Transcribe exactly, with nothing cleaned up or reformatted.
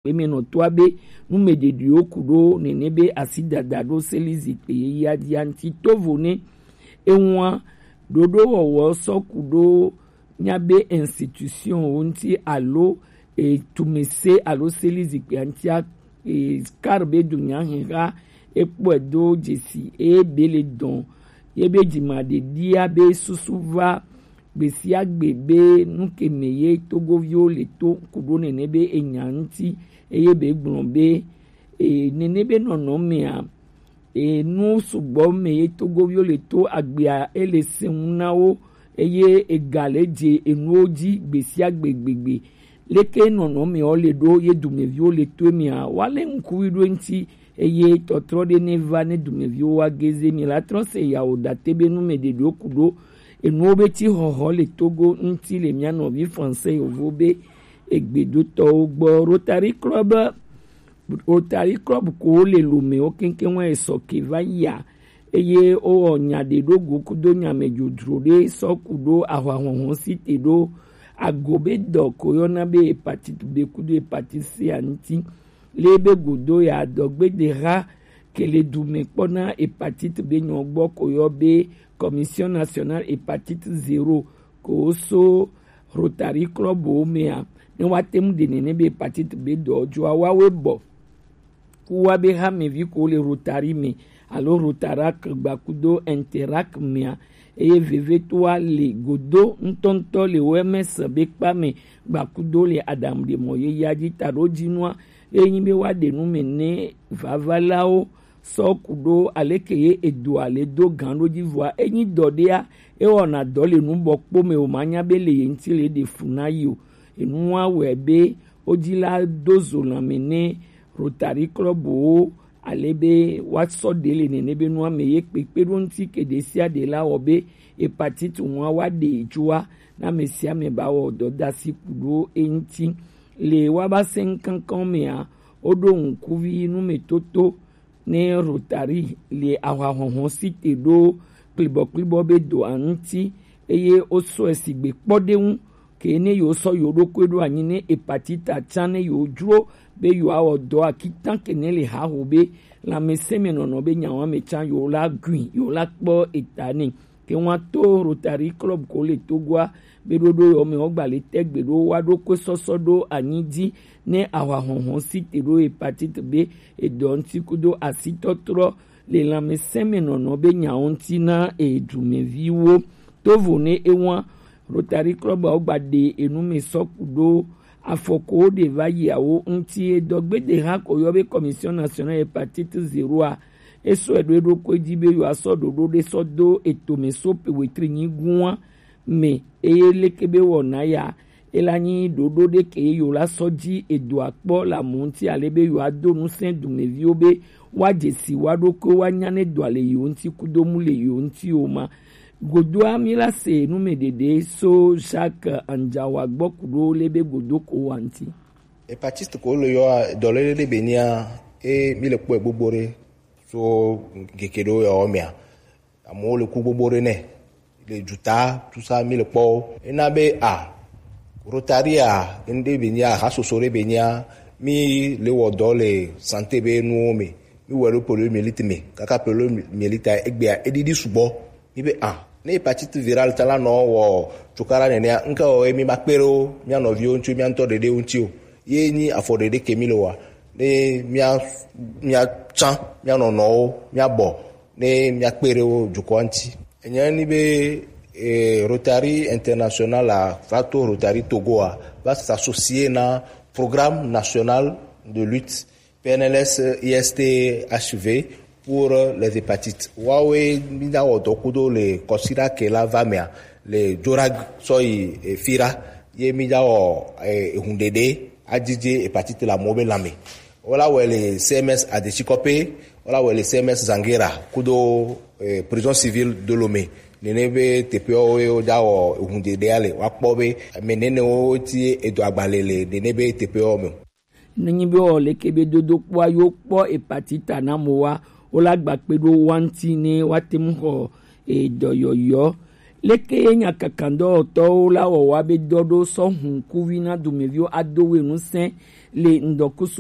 Kpemɛnɔtɔa be numɛɖeɖewo kuɖo nɛnɛ be asidada ɖo seli zikpui yeyea jia ŋuti. Tovo nɛ ewa ɖoɖo wɔwɔ sɔ kuɖo nya be institution wo ŋuti alo etumɛse alo seli zikpui ŋutia, e, kar be dunya hiha ekpɔe do dzesi eye be le dɔn ye be dzimaɖeɖia be susu va gbesiagbe be nukeme ye togoviwo le to kuɖo nɛnɛ be enya ŋuti eye be gblɔ be e, nɛnɛ be nɔnɔmea, e, nu sugbɔ me ye togoviwo le to agbea ele sɛŋu na wo eye ega le dze enuwo dzi gbesiagbe gbegbe. Leke nɔnɔmewo le ɖo ye dumeviwo le to emea, woale ŋkuvi ɖo eŋuti eye tɔtrɔ ɖe ne va ne dumeviwo wa geze mi la trɔ se yawo date be numɛɖeɖewo kuɖo enuwo be ti xɔxɔ le Togo ŋuti le mia nɔvi français yovo be egbedotɔwo gbɔ. Rotary Club Rotary Club ko le lome wo keŋkeŋ wa esɔ ke va yia eye wowɔ nya ɖe ɖo go kudo nya me dzodzro ɖe sɔ kuɖo ahwa hɔhɔn si te ɖo ago be dɔ ko yɔna be hepatite B kudo hepatite C a ŋuti. Le be godo ya dɔgbedeha ke le du me kpɔ na hepatite B nyɔ gbɔ ko yɔ be Commission Nationale Hepatite Zéro ko so Rotary Club wo mea ne woate ŋu ɖe nene be hepatite B dɔ dzoa woawoe bɔ ku wa be hamevi ko le Rotary me alo Rotarac gbakudo Interac mea eye vevetoa le godo ŋutɔŋutɔ le O M S be kpa me gbakudo le aɖaŋuɖemɔ yeyea dzi taɖo dzinua eye nyi be woaɖe nu me ne vavalawo sɔ kuɖo aleke ye edoa le do gan ɖo dzi vɔa enyi dɔ ɖea ewɔna dɔ le nubɔkpo me o ma nya be le ye ŋuti le ɖe fu na yi o. Enua wɔe be wodzi la do zo lãme ne Rotary Club wo ale be woasɔ ɖe le nene be nua me ye kpekpe ɖo ŋuti ke ɖe sia ɖe la wɔ be hepatite ŋua woaɖe dzoa na ame sia ame ba wɔ dɔdasi kuɖo eŋuti. Le woaba sɛn kankan mea woɖo ŋkuvi numetoto ne Rotary le ahwa hɔhɔn si te ɖo klibɔklibɔ be doa ŋuti eye wosɔe sigbe kpɔɖeŋu ke ne yewo sɔ yewo ɖokui ɖo anyi ne hepatite can ne yewo dzro be yewoawɔ dɔ akitan ke ne le haho be lãmesẽ me nɔnɔ be nyawa me can yewo la gui yewo la kpɔ eta ne. Ke ŋua to Rotary Club ko le Togoa be ɖoɖo yɔ me wogba le tɛgbe ɖo wa ɖo kue sɔsɔ ɖo anyi dzi ne ahwa hɔhɔn si te ɖo hepatite B edɔ ŋuti kudo asitɔtrɔ le lãmesẽ me nɔnɔ be nyawo ŋuti na edumeviwo. Tovo ne ewa Rotary Club wogba ɖe enu me sɔ kudo afɔko ɖe va yi awo ŋuti edɔgbede ha ko yɔ be Commission Nationale Hepatite Zéro a esɔ eɖo eɖokui dzi be yewoasɔ ɖoɖo ɖe sɔ do etome so pe wetri nyigua me eye leke be wɔna ya ela nyi ɖoɖo ɖe ke ye yewo la sɔ dzi edoa kpɔ le amu ŋuti ale be yewoado ŋusẽ dumeviwo be woadze si woa ɖokui woanya ne doa le yewo ŋuti kudo mu le yewo ŋuti o ma. Godoa mi la se nu me ɖeɖe so Jacques Anjawa gbɔ kuɖo le be godo ko wa ŋuti. Hepatite ko le yɔ dɔlele ɖe be nia e mi le kpɔe gbogbo ɖe so keke ɖewo yɔ mea amewo le ku gbogbo ɖe nɛ le juta tusa mi le kpɔ wo. Ena be a Rotary a ŋɖe be nya hasoso ɖe be nya mi le wɔ dɔ le santé be nuwo me mi wɔ ɖo poliomyélite me kaka poliomyélite egbea eɖiɖi sugbɔ mi be a ne hépatite virale ta la nɔ wɔ cukaɖa nenea ŋke wɔ mi ma kpe ɖe wo mia nɔviwo ŋuti mia ŋutɔ ɖeɖe ŋuti o ye nyi afɔ ɖeɖe ke mi le wɔa ne mia mia tsã mia nɔnɔwo mia bɔ ne mia kpe ɖe wo dukɔa ŋuti. Enya ni be eh, Rotary International a va to Rotary Togo a va s'associer na programme national de lutte P N L S I S T H V pour les hépatites. Wawe mi da wɔ dɔ kudo le kɔsiɖa ke la va mea le Jorag sɔ yi eh, Fira ye mi da wɔ eh, ehun ɖeɖe adidze hépatite la mo be lãme. Wola wɔe le C M S Adetsikɔpe, wola wɔe le C M S Zangera kudo eh, prison civil de Lomé. Nene be teƒewo ye woda wɔ ehun ɖeɖea le woakpɔ be ame nenewo ti edo agbalẽ le nene be teƒewo me. Nenyi be wɔ leke be dodokpɔa yo kpɔ hepatite na mo wa wola gba kpe ɖo wa ŋuti ne woate ŋu xɔ edɔyɔyɔ Leke ye nyakakandɔwɔtɔwo la wɔwa be dɔ ɖo sɔ hun kuvi na dumeviwo ado we nusɛn le ŋdɔkusu